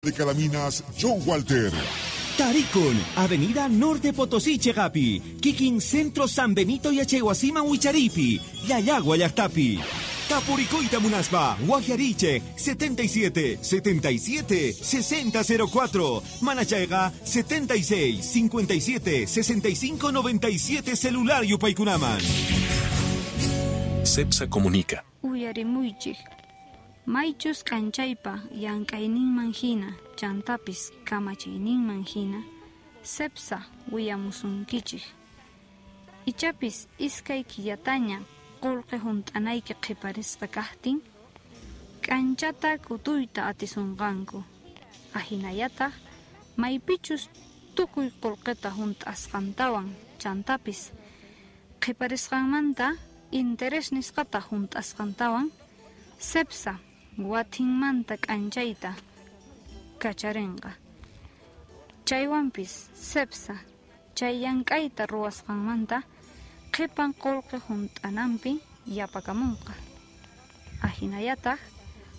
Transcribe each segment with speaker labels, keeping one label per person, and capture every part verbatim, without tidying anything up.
Speaker 1: De Calaminas, John Walter.
Speaker 2: Tarikun, Avenida Norte Potosí Chegapi, Kikin Centro San Benito Yachaywasiman Wicharipi, Llallagua Llajtapi. Tapurikuyta munaspa, Wajyarichej, setenta y siete, setenta y siete, sesenta cero cuatro, Manachayqa, setenta y seis, cincuenta y siete, sesenta y cinco, noventa y siete celular yupaykunaman.
Speaker 3: CEPSA comunica.
Speaker 4: Uyarimuychik. Maychus k'anchaypa llank'ayninman hina chantapis kamachiyninman hina CEPSA willamusunkichik. Ichapis iskay killataña qullqi hunt'anayki qhiparisqa kaqtin k'anchata k'utuyta atisunqanku. Ahinallataq maypichus tukuy qullqita hunt'asqantawan chantapis qhiparisqanmanta interés nisqata hunt'asqantawan CEPSA watinmanta k'anchayta kacharinqa. Chaywanpis CEPSA chay llank'ayta ruwasqanmanta qhipan qullqi hunt'ananpi yapakamunqa. Ahinallataq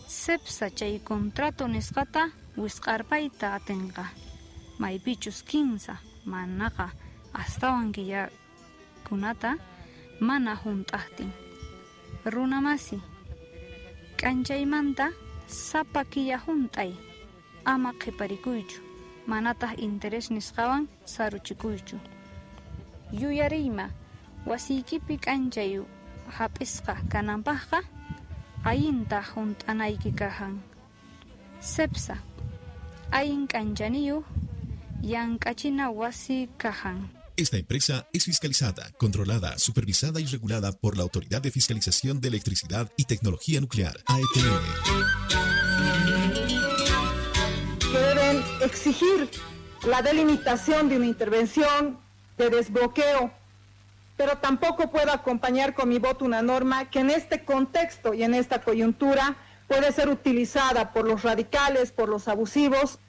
Speaker 4: CEPSA chay contrato nisqata wisq'arpayta atinqa maypichus kinsa manaqa astawan killakunata mana hunt'aqtin. Runamasi, k'anchaymanta sapa killa hunt'ay, ama qhiparikuychu, manataq interés nisqawan saruchikuychu. Yuyariyma, wasiykipi k'anchay hap'isqa kananpaqqa allinta hunt'anayki kahan. CEPSA, allin k'anchaniyuq llank'achina wasi kahan.
Speaker 3: Esta empresa es fiscalizada, controlada, supervisada y regulada por la Autoridad de Fiscalización de Electricidad y Tecnología Nuclear, A E T N.
Speaker 5: Que deben exigir la delimitación de una intervención de desbloqueo, pero tampoco puedo acompañar con mi voto una norma que en este contexto y en esta coyuntura puede ser utilizada por los radicales, por los abusivos,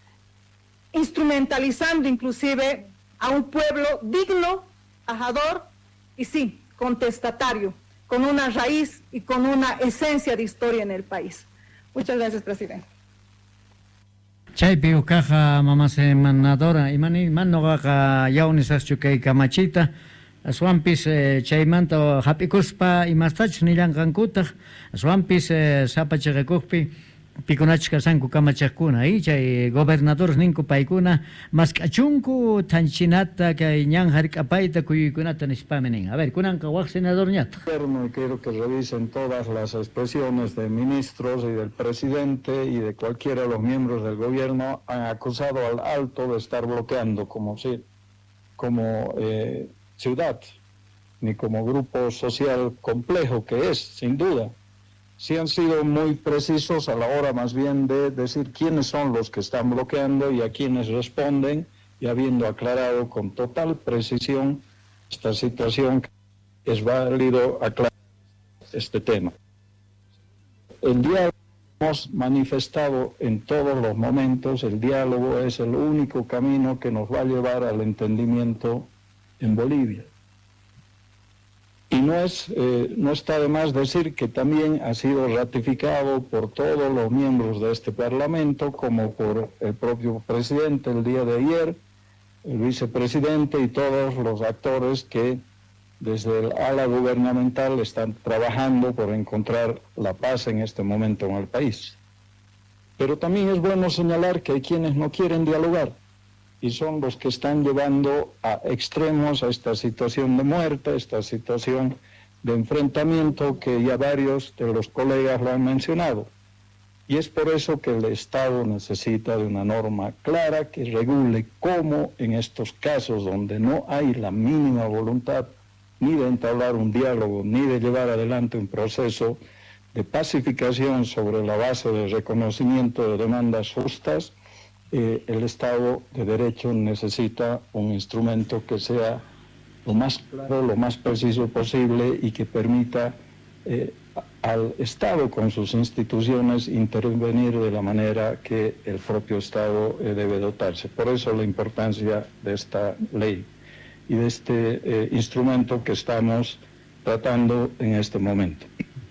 Speaker 5: instrumentalizando inclusive a un pueblo digno, trabajador y sí, contestatario, con una raíz y con una esencia de historia en el país. Muchas gracias, presidente.
Speaker 6: Chaypi ukaqa mama senadora imani man noqaqa yawnisaqchu kay kamachita aswanpis eh, chaymanta hap'ikuspa imastachus nillanqankutaq aswanpis eh, sapa chiqakuqpi pikunachus kashanku kamachaqkuna y chay gobernadores ninku paykuna mask'achunku thanchinata kay ñan hark'apayta kuyuykunata nispami nin. A ver, kunanqa waq senadorñataq.
Speaker 7: Gobierno, y quiero que revisen todas las expresiones de ministros y del presidente y de cualquiera de los miembros del gobierno, han acusado al Alto de estar bloqueando como, si, como eh, ciudad, ni como grupo social complejo que es, sin duda. Sí han sido muy precisos a la hora más bien de decir quiénes son los que están bloqueando y a quiénes responden, y habiendo aclarado con total precisión esta situación, es válido aclarar este tema. El diálogo hemos manifestado en todos los momentos, el diálogo es el único camino que nos va a llevar al entendimiento en Bolivia. Y no, es, eh, no está de más decir que también ha sido ratificado por todos los miembros de este Parlamento, como por el propio presidente el día de ayer, el vicepresidente y todos los actores que desde el ala gubernamental están trabajando por encontrar la paz en este momento en el país. Pero también es bueno señalar que hay quienes no quieren dialogar y son los que están llevando a extremos a esta situación de muerte, esta situación de enfrentamiento que ya varios de los colegas lo han mencionado. Y es por eso que el Estado necesita de una norma clara que regule cómo en estos casos donde no hay la mínima voluntad ni de entablar un diálogo, ni de llevar adelante un proceso de pacificación sobre la base del reconocimiento de demandas justas, eh, el Estado de Derecho necesita un instrumento que sea lo más claro, lo más preciso posible y que permita eh, al Estado con sus instituciones intervenir de la manera que el propio Estado eh, debe dotarse. Por eso la importancia de esta ley y de este eh, instrumento que estamos tratando en este momento.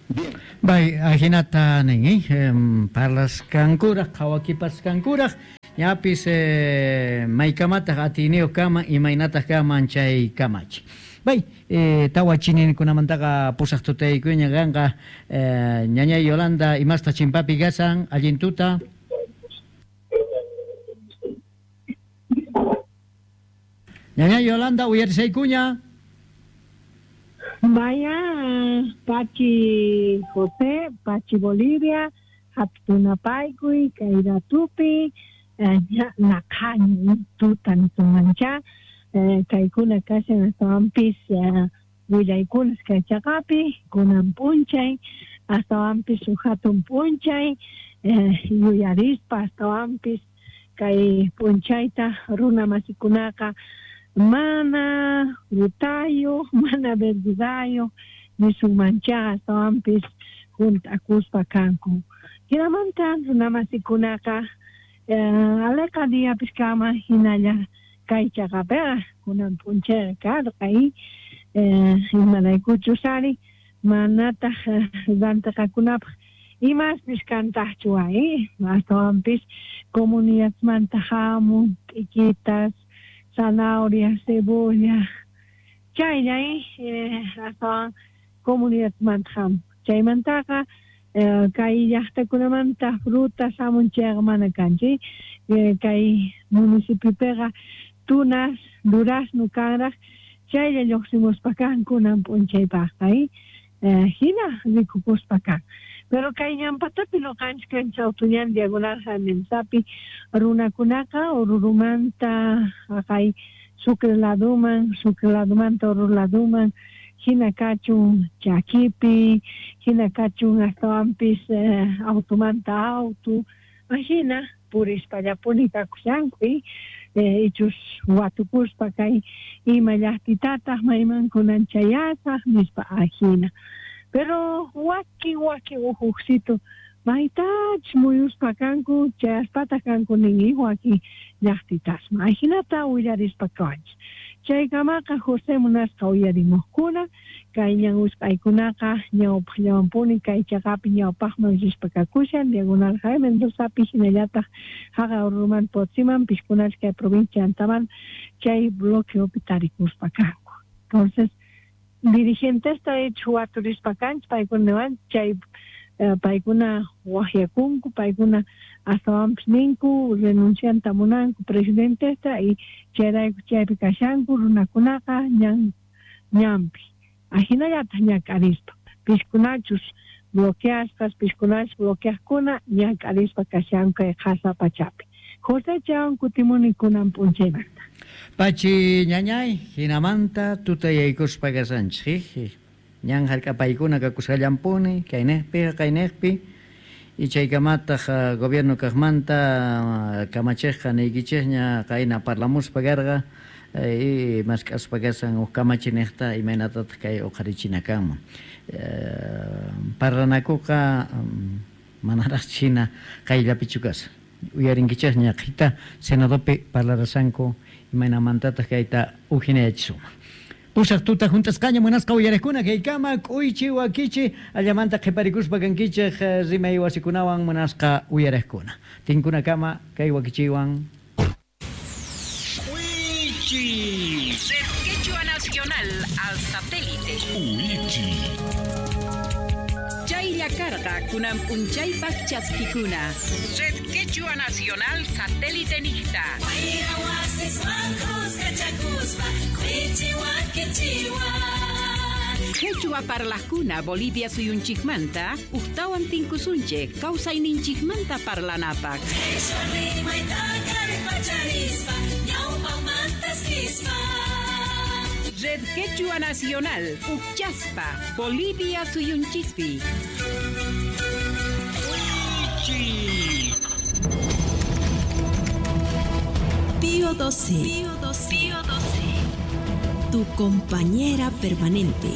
Speaker 7: Bien.
Speaker 6: Bai, ajinata nin, eh? Parlaskankuraj, qhawakipaskankuraj, ñapis eh, maykamataq atiniyuq kaman, imaynataq kaman chay kamachi. Bai, eh, tawa chininkunamantaqa pusaq tutaykuña kanqa, eh, ñañay Yolanda imasta chimpapi gasan, allintuta. Ñañay Yolanda, uyarisaykuña.
Speaker 8: Vaya, Pachi José, Pachi Bolivia, Hatunapaykuy, Kairatupi, Naqhañi, tuta nisunmancha, kaykuna kashan astawanpis willaykunas kay chaqapi, kunan p'unchay, astawanpis huk hatun p'unchay, yuyarispa astawanpis kay p'unchayta runa masikunaqa mana frutayuq, mana verdurayuq, nisunmanchaqa astawanpis junt'akuspa kanku. Hinamanta runamasikunaqa aleqa diapis kama hinalla kay chaqapiqa kunan p'unchayqa karqa imaraykuchus ari manataq rantiqakunapaq imaspis kantaqchu ay astawanpis comunidadmanta hamun t'ikitas, zanahoria, cebolla, chaylla astawan comunidadmanta hamun. Chaymantaqa kay llaqtakunamanta frutas hamun chayqa mana kanchu. Kay municipiopiqa tunas, durazno kanraq, chaylla lluqsimuspa kan kunan p'unchaypaqqa hina rikukuspa kan. Pero kay ñanpatapi nuqanchik kanchik Autoñan Diagonal Jamensapi runakunaqa Orurumanta haqay Sucre laduman, Sucre ladumanta Oruro laduman, hina kachun chakipi, hina kachun astawanpis eh, autumanta autu, hina purispallapuni kakushanku eh, ichus watukuspa kay ima llaqtitataq mayman kunan chayasaq nispa ajina. Pero wakin wakin ujuqsitu maytach muyuspa kanku chayaspataq kanku nin wakin llaqtitasman ajinata willarispa kawanchik. Chaykamaqa José munasqa uyarimuqkuna kay ñan usq'aykunaqa ñawpaqllawanpuni kay chaqapi ñawpaqman rispa kakushan Diagonal Jaime Mendozapi hinallataq haqa Orurumanta Potosiman piskunach kay provincia Antaman chay bloqueopi tarikuspa kanku. Entonces dirigentesta hecho waturispa kanchik paykunawan chay paykuna waqyakunku, paykuna astawanpis ninku renuncianta munanku presidentesta y chayrayku chaypi kashanku runakunaqa ñan ñanpi ajinallataq ñak'arispa piskunachus bloqueasqas, piskunachus bloqueaqkuna ñak'arispa kashanku kay qhasa pachapi. José chawan kutimuni kunan p'unchaymanta.
Speaker 6: Pachi ñañay, hinamanta tutayaykuspa kasanchik, ñan hark'apaykuna kakusqallampuni kaynejpi kaynejpi y chaykamataq gobierno kaqmanta kamachiqqa niykichikña qayna parlamuspa karqa y mask'aspa kasan huk kamachiniqta imaynatataq kay uqharichina kanman. Parlanakuqa manaraq china qayllapichu kasan. Uyarinkichikña qhita senadopi parlarasanku imaynamantataq kayta ujinayachisuman. Pusaq tuta juntasqaña munasqa uyariqkuna kaykama k'uychi wakichi allamanta qhiparikuspa kankichik rimay wasikunawan munasqa uyariqkuna. Tinkunakama kay wakichiwan.
Speaker 9: Uichi. Red Quechua Nacional al satélite.
Speaker 1: Uichi.
Speaker 9: Chaylla karqa kunan p'unchaypaq chaskikuna. Red Quechua Nacional satélite niqta. Quechua parlajkuna Bolivia suyunchikmanta uhtawan tinkusunchik kawsayninchikmanta parlanapaq. Red Quechua Nacional Uchaspa Bolivia suyunchikpi.
Speaker 10: Pío doce. Pío doce. Pío doce. Tu compañera permanente.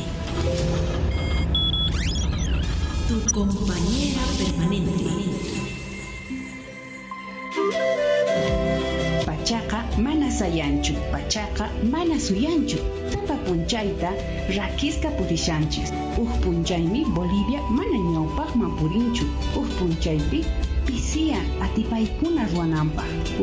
Speaker 10: Tu compañera permanente.
Speaker 9: Pachaqa Mana sayanchu, pachaqa mana suyanchu. Sapa punchayta rakisqa purishanchis. Uj punchaymi Bolivia mana ñawpaqman purinchu. Uj punchaypi pisiyan atipaykuna ruwananpaq.